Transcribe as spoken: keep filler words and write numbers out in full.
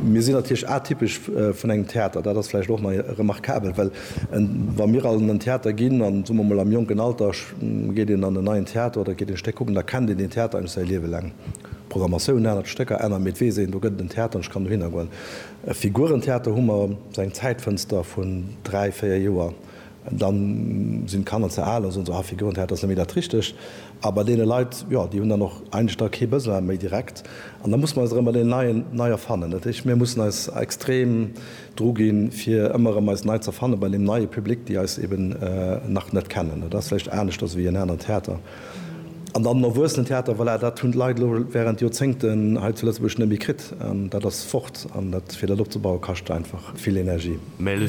Mir sinn natierlech atypesch vun engem Theater, dat ass vläicht och nach remarkabel, well wa mir an en Theater ginn, an soe mer mol am jonken Alter geet een an en neien Theater oder geet een Stéck kucken, da kennt een deen Theater eigentlech säi Liewe laang. D'Programmatioun ännert, d'Stécker änneren, mee et weess een, do gëtt et en Theater an ech kann dohinner goen. E Figurentheater hu mer esou eng Zäitfënster vun dräi, véier Joer. Dann sinn d'Kanner ze al an soen se, ah, Figurentheater ass net méi dat Richtegt. A bei deene Leit, jo, déi hunn dann och eigentlech da kee Besoin méi direkt. An da musse mer eis erëm bei deenen Neien nei erfannen. Dat heescht, mir mussen eis extrem dru ginn, fir ëmmer erëm eis nei ze erfanne bei deem neie Public, déi eis eben nach net kennen. Dat ass vläicht aneschters wéi en aneren Theater. An dann den Erwuessenentheater, voilà, dat hunn d'Leit elo während Joerzéngten hei zu Lëtzebuerg net méi kritt. An dat ass fort. An dat, fir dat opzebauen, kascht einfach vill Energie. Mais le